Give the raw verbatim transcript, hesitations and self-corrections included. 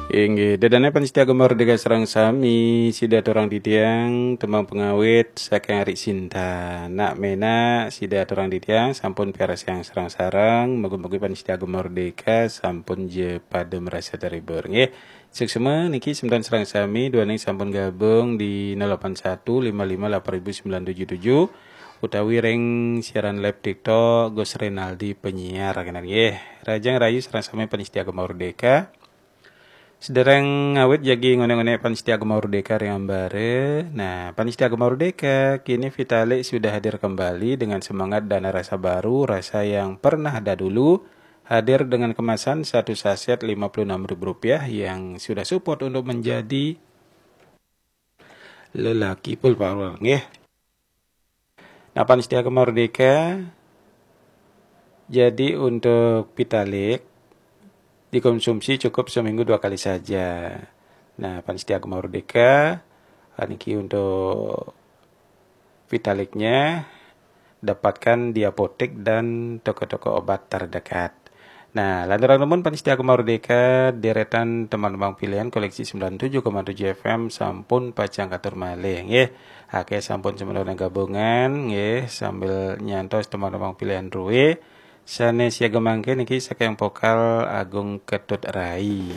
Inggih, ida dané pamiarsa Gema Merdeka sareng sami, sida aturang titiang tembang pangawit saking Ari Sinta. Nak ménak sida aturang titiang sampun piarsayang sareng-sareng, mugi-mugi pamiarsa Gema Merdeka sampun ja pada merasa terhibur nggih. Suksma niki semeton sareng sami duaning sampun gabung di nol delapan satu lima lima delapan ribu sembilan tujuh tujuh utawi ring siaran live TikTok Gus Renaldi penyiar kena nggih. Rahajeng rahayu sareng sami pamiarsa Gema Merdeka. Sedereng ngawit jagi ngonék-ngonék pamiarsa Gema Merdeka ring ambara. Nah, pamiarsa Gema Merdeka, kini Vitalik sudah hadir kembali dengan semangat dan rasa baru, rasa yang pernah ada dulu, hadir dengan kemasan satu saset lima puluh enam ribu rupiah yang sudah support untuk menjadi lelaki full power nggih. Nah, pamiarsa Gema Merdeka, jadi untuk Vitalik dikonsumsi cukup seminggu dua kali saja. Nah, pamiarsa Gema Merdeka, niki untuk Vitaliknya dapatkan di apotek dan toko-toko obat terdekat. Nah, lanturang nunas pamiarsa Gema Merdeka, deretan tembang-tembang pilihan koleksi sembilan tujuh koma tujuh F M sampun pacang katur malih nggih. Akéh sampun semeton gabungan nggih, sambil nyantos tembang-tembang pilihan drué. Sané siaga mangkin niki saking vokal Agung Ketut Rai.